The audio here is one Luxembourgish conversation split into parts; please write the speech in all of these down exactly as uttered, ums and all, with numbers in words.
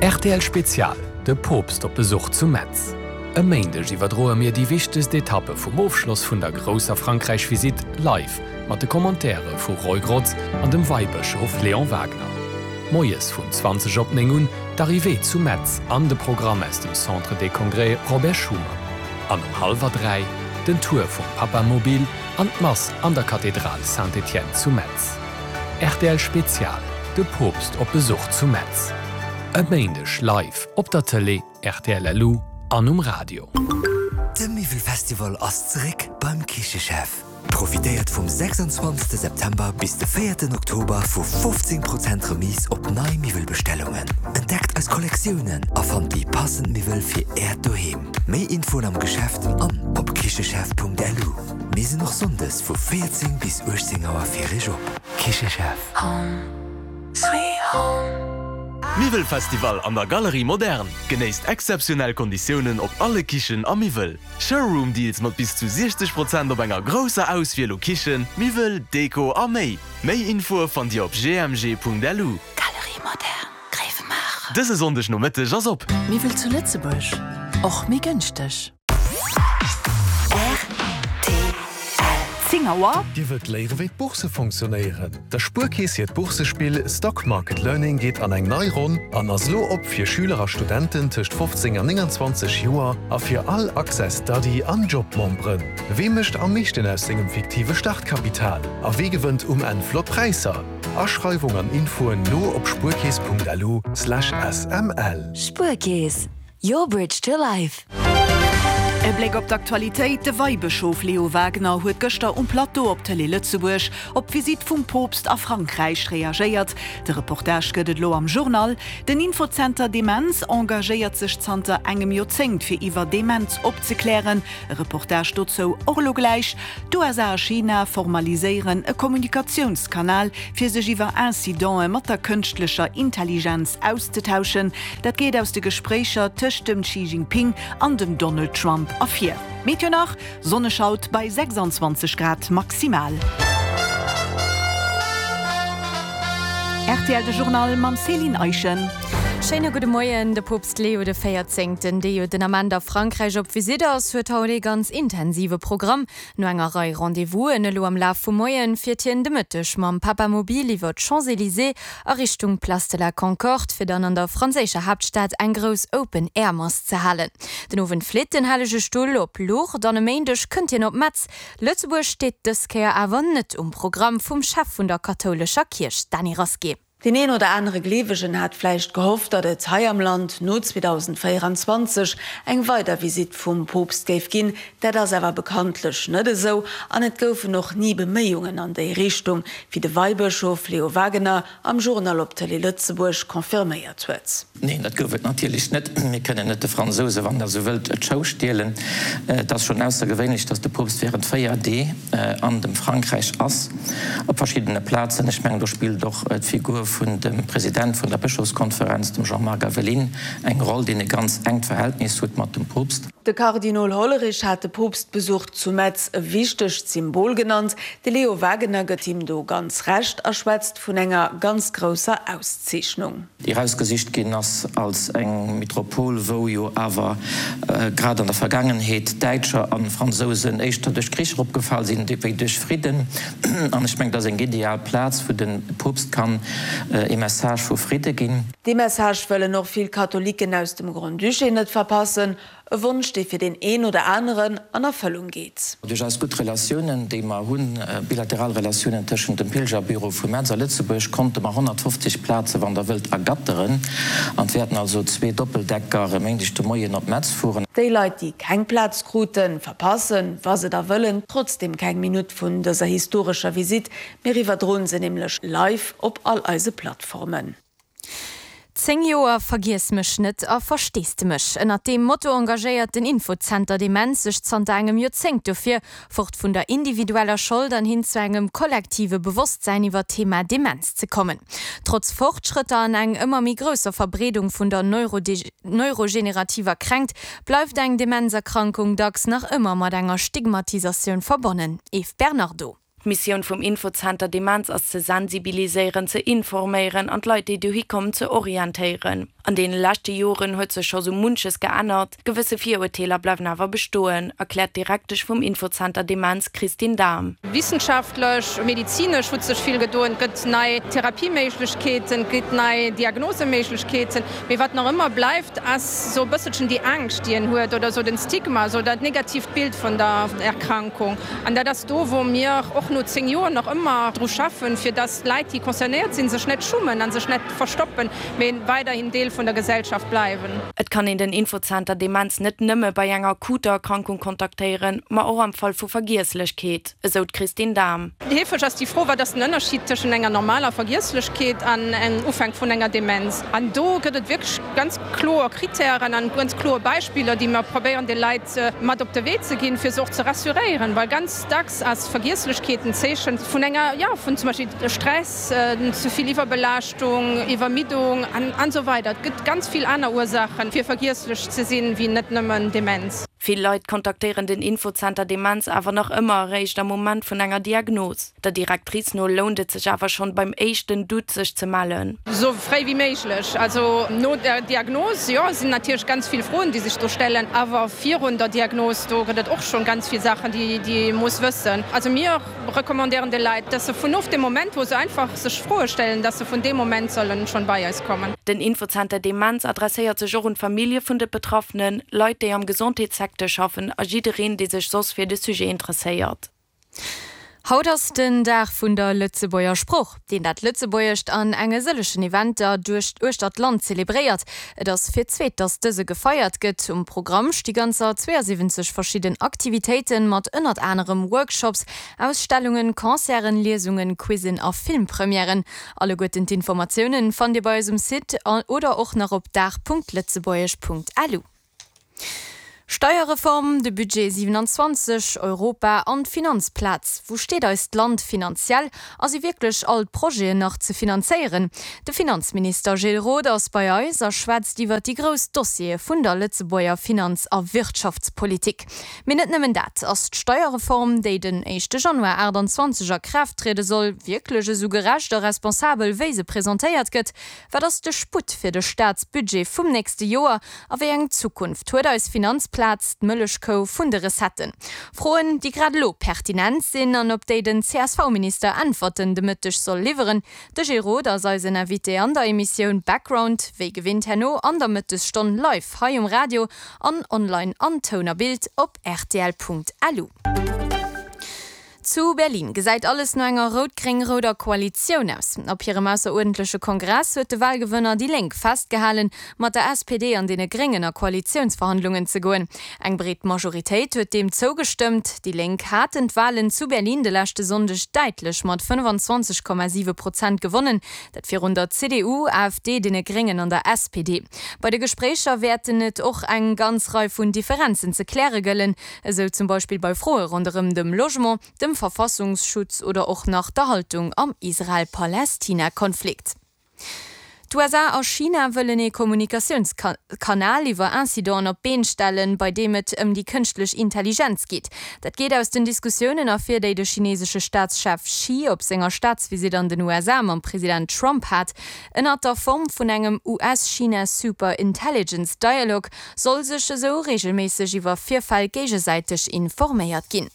Rtl Spezial, De Poopst op Besuch zu Metz. E Méindeg iwwerdroe mir déi wichtegst Etappe vum Ofschloss vun der grousser Frankräich-Visitt live mat de Commentaire vu Roy Grotz an dem Weibëschof Léon Wagner. Moies vun zwanzeg op néng un d'Arrivée zu Metz an de Programm aus dem Centre des Congrès Robert Schuman. An um hallwer dräi den Tour vum Papamobil an d'Mass an der Kathedral Saint-Étienne zu Metz. Rtl Spezial, De Poopst op Besuch zu Metz. E Méindeg live op der Tëlee, rtl LU an um Radio. De Miwwelfestival ass zeréck beim Kichechef! Profitéiert vum sechsundzwanzegste September bis de véierten Oktober vu fofzéng Prozent Remise op nei Miwwelbestellungen. Entdeckt eis Kollektiounen a fannt déi passend Miwwel fir Äert Doheem. Méi Infoen am Geschäft an op kichechef.lu. Mir sinn och Sonndes vu véierzéng bis uechtzéng Auer fir Iech op. Kichechef. Home sweet home. Miwwelfestival an der Galerie Moderne! Genéisst exzeptionell Konditiounen op alle Kichen a Miwwel. Showroom Deals mat bis zu siechzeg Prozent op enger grousser Auswiel u Kichen, Miwwel, Deko a méi. Méi Infoe fannt Dir op gmg.lu. Galerie Moderne, Gréiwemaacher. Dëse Sonndeg Nomëtteg ass op. Miwwel zu Lëtzebuerg, och méi gënschteg. Zéng Auer. Dir wëllt léiere wéi d'Bourse fonctionnéieren? Der Spuerkeess hiert Boursespill Stock Market Learning geet an eng nei Ronn an ass elo op fir Schüler a Studenten tëscht fofzéng an nénganzwanzeg Joer a fir all Access Study an Job Memberen. Wee mécht am meeschten aus sengem fiktive Startkapital a wee gewënnt um Enn flott Präisser? Aschreiwung an Infoen lo op spuerkeess.lu slash sml. Spuerkeess, your bridge to life. E Bléck op d'Aktualitéit, De Weibëschof Leo Wagener huet gëschter um Plateau op Télé Lëtzebuerg op d'Visitt vum Poopst a Frankräich reagéiert. De Reportage gëtt et elo am Journal. Den Infozenter Demenz engagéiert sech zanter engem Joerzéngt fir iwwer Demenz opzeklären. E Reportage dozou och elo gläich. D'USA a China formaliséieren e Kommunikatiounskanal, fir sech iwwer Incidente mat der kënschtlecher Intelligenz auszetauschen. Dat geet aus de Gespréicher tëscht dem Xi Jinping an dem Donald Trump ervir. Meteo nach, Sonneg haut bei sechsundzwanzeg Grad maximal. Rtl De Journal mam Céline Eischen. Schéine gudde Moien. De Poopst Leo de Véierzéngten, dee jo den Ament a Frankräich op Visitt ass, huet haut ee ganz intensive Programm. No enger Rei Rendez-vousen elo am Laf vum Moien, fiert hien de Mëtteg mam Papamobil iwwer d'Champs-Elysées a Richtung Place de la Concorde, fir dann an der franséischer Haaptstad eng grouss Open-Air-Mass ze halen. Den Owend flitt den Hellege Stull op Lourdes an e Méindeg kënnt hien op Metz. Lëtzebuerg steet dës Kéier awer net um Programm vum Chef vun der kathoulescher Kierch, Dany Rasqué. Deen een oder anere Gleewegen hat vläicht gehofft, datt et hei am Land no zweedausendvéieranzwanzeg eng weider Visitt vum Poopst géif ginn. Dat ass awer bekanntlech net esou an et goufen och ni Beméiungen an déi Richtung, wéi de Weibëschof Leo Wagener am Journal op Tëlee Lëtzebuerg confirméiert huet. Neen, dat gouf et natierlech net. Mir kënnen net de Fransousen, wann Der esou wëllt, d'Show stielen. Et ass schonn aussergewéinlech, datt de Poopst während véier Dee an dem Frankräich ass, op verschiddene Plazen. Ech mengen, do spillt och d'Figur vun dem President vun der Bëschofskonferenz, dem Jean-Marc Aveline, eng Roll, deen e ganz enkt Verhältnis huet mat dem Poopst. De Kardinol Hollerich hat de Poopstbesuch zu Metz e wichtegt Symbol genannt. De Leo Wagener gëtt him do ganz Recht a schwätzt vun enger ganz grousser Auszeechnung. Déi erausgesicht ginn ass als eng Metropol, wou jo awer grad an der Vergaangenheet Däitscher a Fransousen éischter duerch Krich eropgefall sinn wéi duerch Fridden. An ech mengen, dat ass eng ideal Plaz, wou de Poopst kann ee Message vu Fridde ginn. Dee Message wëllen och vill Katholiken aus dem Grand-Duché net verpassen. E Wonsch, dee fir deen een oder aneren an Erfëllung geet. Duerch eis gutt Relatiounen, déi mer hunn, bilateral Relatiounen tëschent dem Pilgerbüro vu Metz a Lëtzebuerg, konnte mer honnertfofzeg Plaze, wann Der wëllt, ergatteren. An et wäerten also zwee Doppeldecker e Méindeg de Moien op Metz fueren. Déi Leit, déi keng Plaz kruten, verpassen, wa se da wëllen, trotzdeem keng Minutt vun dëser historescher Visitt. Mir iwwerdroen se nämlech live op all eise Plattformen. Zéng Joer Vergiess mech net a Versteesdemech. Ënnert deem Motto engagéiert den Infozenter Demenz sech zanter engem Joerzéngt dofir, fort vun der individueller Schold an hin zu engem kollektive Bewosstsäin iwwer d'Thema Demenz ze kommen. Trotz Fortschrëtter an eng ëmmer méi grousser Verbreedung vun der neurogenerativer Kränkt, bleift eng Demenzerkrankung dacks nach ëmmer mat enger Stigmatisatioun verbonnen. Eve Bernardo. D'Missioun vum Infozenter Demenz ass ze sensibiliséieren, ze informéieren an d'Leit, déi dohi kommen, ze orientéieren. An deene leschte Joren huet sech scho sou munches geännert, gewësse Virurteeler bleiwen awer bestoen, erkläert d'Direktesch vum Infozenter Demenz Christine Dahm. Wissenschaftlech, medizinesch huet sech vill gedoen, et gëtt nei Therapieméiglechkeeten, et gëtt nei Diagnoseméiglechkeeten, mee wat nach ëmmer bleift, ass sou e bësselchen déi Angscht, déi een huet oder sou den Stigma, sou dat negatiivt Bild vun der Erkrankung. An dat ass do, wou mir och no zéng Joer nach ëmmer dru schaffen, fir dass d'Leit, déi concernéiert sinn, sech net schummen a sech net verstoppen, mee weiderhin Deel vun der Gesellschaft bleiwen. Et kann een den Infozenter Demenz net nëmme bei enger akuter Erkrankung kontaktéieren, ma och am Fall vu Vergiesslechkeet, esou d'Christine Dahm. Heefeg ass déi Fro, Wat ass den Ënnerscheed tëschent enger normaler Vergiesslechkeet an engem Ufänk vun enger Demenz? An do gëtt et wierklech ganz kloer Krittären an ganz kloer Beispiller, déi mer probéieren de Leit mat op de Wee ze ginn, fir se och ze rassuréieren, well ganz dacks ass Vergiesslechkeet en Zeechen vun enger, jo, vun zum Beispill Stress, ze vill Iwwerbelaaschtung, Iwwermiddung an esou weider. Et gëtt ganz vill aner Ursaachen, fir vergiesslech ze sinn, wéi net nëmmen Demenz. Vill Leit kontaktéieren den Infozenter Demenz awer nach ëmmer eréischt am Moment vun enger Diagnos. Der Directrice no lount et sech awer schonn beim éischten Doute sech ze mellen. Esou fréi wéi méiglech. Also no der Diagnos, jo, sinn natierlech ganz vill Froen, déi sech do stellen. Awer virun der Diagnos, do gëtt et och schonn ganz vill Saachen, déi ee muss wëssen. Also mir recommandéieren de Leit, dass se vun of dem Moment, wou se einfach sech Froe stellen, dass se vun deem Moment sollen schonn bei eis kommen. Den Infozenter Demenz adresséiert sech och un d'Famillje vun de Betraffenen, Leit, déi am Gesondheetssecteur schaffen a jiddereen, dee sech soss fir de Sujet interesséiert. Haut ass den Dag vun der Lëtzebuerger Sprooch, deen dat Lëtzebuergescht an enge sëllechen Eventer duerch uechter d'Land zelebréiert. Et ass fir d'zweet, datt dëse gefeiert gëtt. Um Programm sti ganzer zweeënsiwwenzeg verschidden Aktivitéiten, mat ënnert anerem Workshops, Ausstellungen, Concerten, Liesungen, Quizzen a Filmpremièren. Alleguerten d'Informatiounen fannt Dir bei eis um Site oder och nach op dag.lëtzebuergesch.lu. Steierreform, de Budget siewenanzwanzeg, Europa an d'Finanzplaz, Wou steet eist Land finanziell a si wierklech all d'Projeten nach ze finanzéieren? De Finanzminister Gilles Roth ass bei eis a schwätzt iwwer déi grouss Dossiere vun der Lëtzebuerger Finanz a Wirtschaftspolitik. Mee net nëmmen dat, Ass d'Steierreform, déi den éischte Januar aachtanzwanzeg a Kraaft triede soll, wierklech esou gerecht a responsabel, wéi se presentéiert gëtt? Wat ass de Sputt fir de Staatsbudget vum nächste Joer a wéi eng Zukunft huet eis Finanzplaz, d'Mëllechkou vun de Recetten? Froen, déi grad elo pertinent sinn an op déi den C S V-Minister Äntwerten de Mëtteg soll liwweren. De Gilles Roth ass eisen Invité an der Emissioun Background, wéi gewinnt herno an der Mëttesstonn live hei um Radio an online an Toun a Bild op rtl Punkt lu. Zu Berlin gesäit alles no enger rout-gréng-rouder Koalitioun aus. Op hirem ausseruerdentleche Kongress huet de Walgewënner déi Lénk festgehalen, mat der S P D an deene Gréngen a Koalitiounsverhandlungen ze goen. Eng breet Majoritéit huet deem zougestëmmt. Déi Lénk haten d'Walen zu Berlin de leschte Sonndeg däitlech mat fënnefenzwanzeg Komma siwe Prozent gewonnen, dat virun der C D U, A F D, deene Gréngen an der S P D. Bei de Gespréicher wäerten et och eng ganz Rei vun Differenzen ze kläre gëllen, esou zum Beispill bei Froe ronderëm dem Logement, dem Verfassungsschutz oder och nach der Haltung am Israel-Palästina-Konflikt. D'U S A a China wëllen ee Kommunikatiounskanal iwwer Incidenten op d'Been stellen, bei deem et ëm déi kënschtlech Intelligenz geet. Dat geet aus den Diskussiounen ervir, déi de chinesesche Staatschef Xi op senger Staatsvisitt an den U S A mam President Trump hat. Ënnert der Form vun engem U S-China Super Intelligence Dialogue soll sech esou reegelméisseg iwwer Virfäll géigesäiteg informéiert ginn.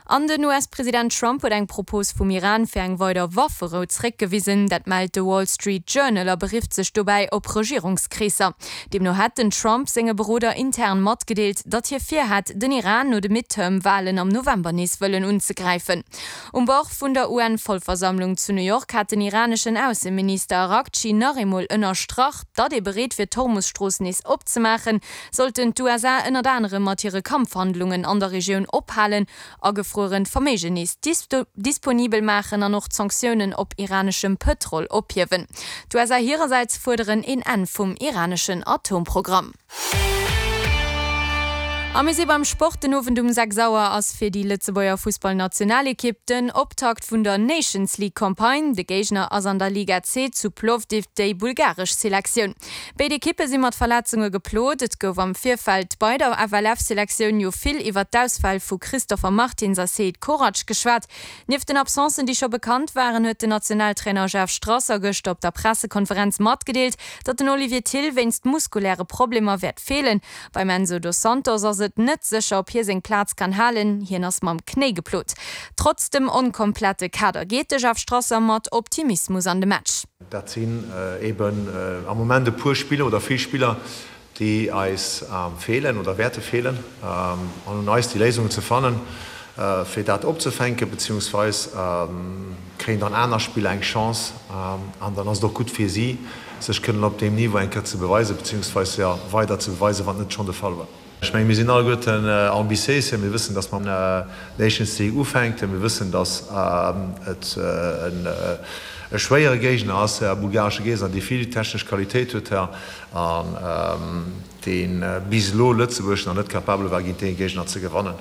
An den U S-President Trump huet eng Propos vum Iran fir eng weider Wafferou zeréckgewisen. Dat mellt de Wall Street Journal a berifft sech dobäi op Regierungskreesser. Deemno hätt den Trump senge Beroder intern matgedeelt, datt hie virhätt, den Iran no de Midterm-Walen am November nees wëllen unzegräifen. Um Bord vun der U N-Vollversammlung zu New York hat den iraneschen Ausseminister Araghchi nach eemol ënnerstrach, datt ee bereet wier d'Hormus-Strooss nees opzemaachen, sollten d'U S A ënnert anerem mat hire Kampfhandlungen an der Regioun ophalen, agefruerent Verméigen nees disponibel maachen an och d'Sanktiounen op iraneschem Pëtrol ophiewen. D'U S A hirersäits fuerderen een Enn vum iraneschen Atomprogramm. A mir si beim Sport, Den Owend um sechs Auer ass fir déi Lëtzebuerger Fussballnationalekipp den Optakt vun der Nations League Campagne. De Géigner ass an der Liga C zu Plovdiv déi bulgaresch Selektioun. Béid Ekippe si mat Verletzunge geplot. Et gouf am Virfeld bei der F L F-Selektioun jo vill iwwer d'Ausfäll vu Christopher Martins a Seid Korac geschwat. Nieft den Absencen, déi scho bekannt waren, huet den Nationaltrainer Jeff Strasser gëschter op der Pressekonferenz matgedeelt, datt den Olivier Thill wéinst muskuläre Problemer wäert feelen. Beim Enzo dos Santos ass et net sécher, ob hie seng Plaz kann halen, hien ass mam Knéi geplot. Trotz dem onkomplette Kader geet de Jeff Strasser mat Optimismus an de Match. Dat sinn eben am Moment e puer Spiller oder vill Spiller, déi eis feelen oder wäerte feelen. An un eis déi Léisungen ze fannen, fir dat opzefänken, beziehungsweis kréien dann aner Spiller eng Chance an dann ass et och gutt fir si, sech kënnen op deem Niveau eng Kéier ze beweisen, beziehungsweis jo weider ze beweisen, wat net schonn de Fall war. Ech mengen, mir sinn alleguerten ambitiéis, mir wëssen, datt mer Nations League ufänken, mir wëssen, datt et e schwéiere Géigner ass, e bulgaresche Géigner, dee vill technesch Qualitéit huet an dee bis elo Lëtzebuerg nach net capabel war, géint dee Géigner ze gewannen.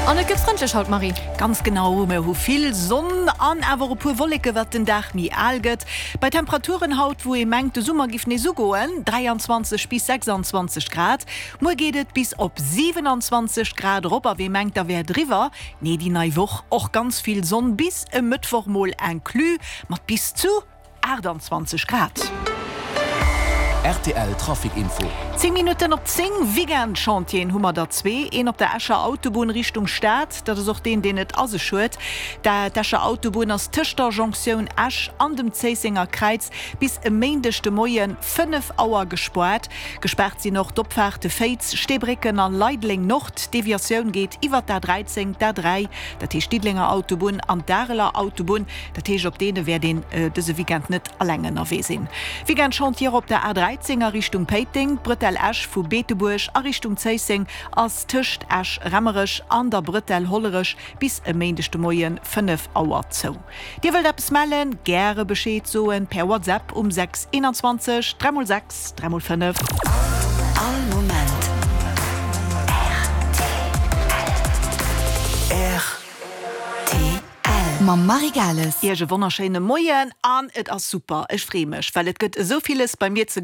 An et gëtt frëndlech haut, Marie. Ganz genau, mir hu vill Sonn an awer e puer Wolleke wat den Dag méi al gëtt. Bei Temperaturen haut, wou ee mengt de Summer giff nees ugoen, dräianzwanzeg bis sechsanzwanzeg Grad. Muer geet et bis op siwenanzwanzeg Grad erop a wee mengt da wär et eriwwer, nee déi nei Woch och ganz vill Sonn bis e Mëttwoch mol inclus mat bis zu aachtanzwanzeg Grad. Rtl Trafic Info. Zéng Minutten op zéng, Weekend-Chantieren hu mer der zwee, een op der Escher Autobunn Richtung Stad, dat ass och deen, deen et a sech huet. D'Escher Autobunn ass tëscht der Jonktioun Esch an dem Zéissenger Kräiz bis e Méindeg de Moie fënnef Auer gespaart. Gespaart sinn och d'Opfaarte Féiz, Steebrécken a Leideleng Nord. D'Deviatioun geet iwwer d'A dräizéng, d'A dräi, dat heescht d'Diddelenger Autobunn an d'Areler Autobunn. Dat heescht, op deene wäert een dëse Weekend net alleng ënnerwee sinn. Weekend-Chantier op der A dräizéng a Richtung Péiteng, D'Bretelle Esch vu Beetebuerg a Richtung Zéisseng ass tëscht Esch-Raemerech an der Bretelle Hollerech bis e Méindeg de Moie fënnef Auer zou. Dir wëllt eppes mellen? Gäre Bescheed soen per WhatsApp um sechs eenanzwanzeg dräi mol sechs dräi mol fënnef. All Moment rtl. Rtl mam Marie Gales. Iech e wonnerschéine Moien an et ass super, ech free mech, well et gëtt esou villes bei mir ze.